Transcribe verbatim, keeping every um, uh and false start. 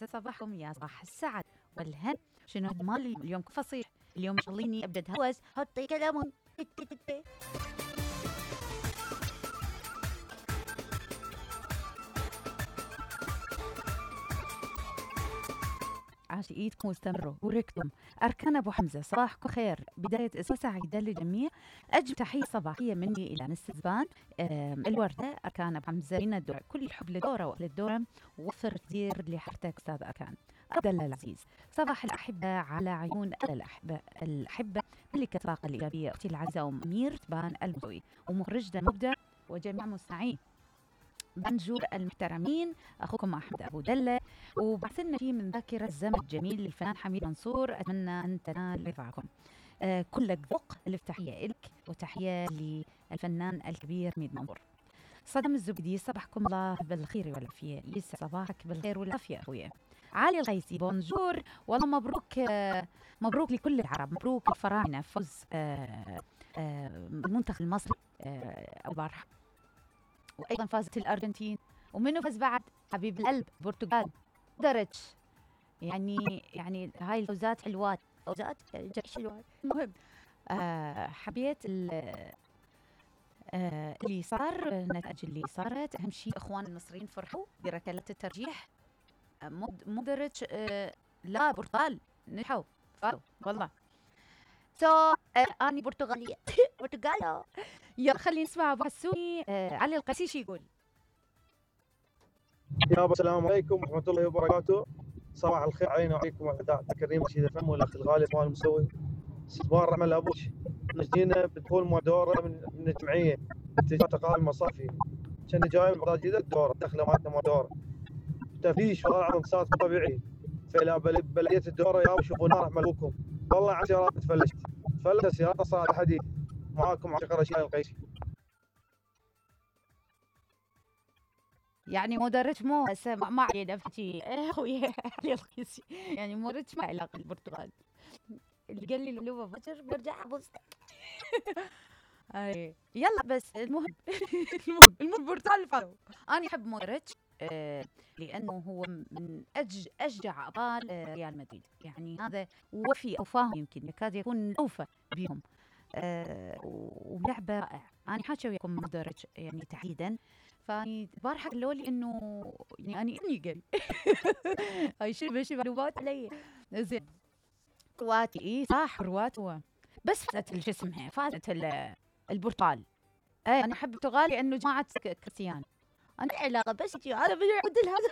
يسعد صباحكم يا صباح السعد والهن. شنو مالي اليوم فصيح، اليوم شغليني ابدا اتهوس، حطي كلامهم عاش ايدكم واستمروا وركتم. اركان ابو حمزه صباحكم خير، بدايه اسبوع سعيده للجميع. اجل تحيه صباحيه مني الى نس زبان الورده. اركان ابو حمزه من الدور، كل الحب لدوره واهل الدوره، وفر تدير لحرتك استاذ اركان. عبد الله العزيز صباح الاحبه على عيون الاحبه الاحبه ملكه الطاقه الايجابيه اختي العزيزه ام امير تبان المسوي ومخرجنا المبدع وجميع مستمعين بنجور المحترمين. اخوكم احمد ابو دله، وبعثنا فيه من ذاكره الزمن الجميل للفنان حميد منصور. اتمنى ان تنال رفعكم. آه كلك ذوق. الف تحيه لك وتحيه للفنان الكبير حميد منصور. صدام الزبدي صباحكم الله بالخير والعافيه، يسعد صباحك بالخير والعافيه اخويا. علي الغيسي بونجور، والله مبروك آه مبروك لكل العرب، مبروك الفراعنه فوز آه آه المنتخب المصري آه البارحه، وايضا فازت الارجنتين، ومنه فاز بعد حبيب القلب البرتغال درج. يعني يعني هاي الفوزات حلوات، فوزات جيش حلوات. المهم آه حبيت آه اللي صار، النتائج اللي صارت. اهم شيء اخوان المصريين فرحوا بركلات الترجيح. آه مو مو درج آه لا برتغال نجحوا فازوا والله. سو so, آه اني برتغاليه برتغالو. يلا خلينا نسمع ابو حسوني. آه علي القسيشي يقول يا السلام عليكم ورحمه الله وبركاته. صباح الخير علينا وعليكم وعلى الكريم رشيد فم والاخ الغالي مال المسوي. صباح الرحمه لابوش. نجينا بدخول مدوره من من الجمعيه اتجاه تقاعد المصافي. كان جاي مراجعه الدوره دخله مالتنا مدوره تفليش والله العظيم صارت مو طبيعي. فلا بلديه الدوره يا شوفوا نار ملوكم. والله عن سيارات تفلشت تفلت السياره صارت حديد. معاكم عشق رشيد القيسي. يعني مدرج مو ما علينا بحكي اخوي علي القيسي، يعني مدرج ما علاقه البرتغال. اللي قال لي اللغه بشر برجع ابص. اي يلا بس المهم المهم المهم البرتغال فازوا. انا احب مودريتش آه لانه هو من أج اشجع ابطال آه ريال مدريد، يعني هذا وفي اوفاهم، يمكن يكاد يكون اوفى بهم. آه ولعبه رائعه. انا حاجه وياكم مودريتش يعني تحديدا، فاني البارحه قالوا لي انه يعني اني قال هاي شو بشي معلومات علي زين. كرواتي اي صح كرواتي هو، بس فازت شو اسمها فازت البرتغال. اي انا احب البرتغال لانه جماعه كريستيانو. انا علاقه بس انا بدي اعدل هذا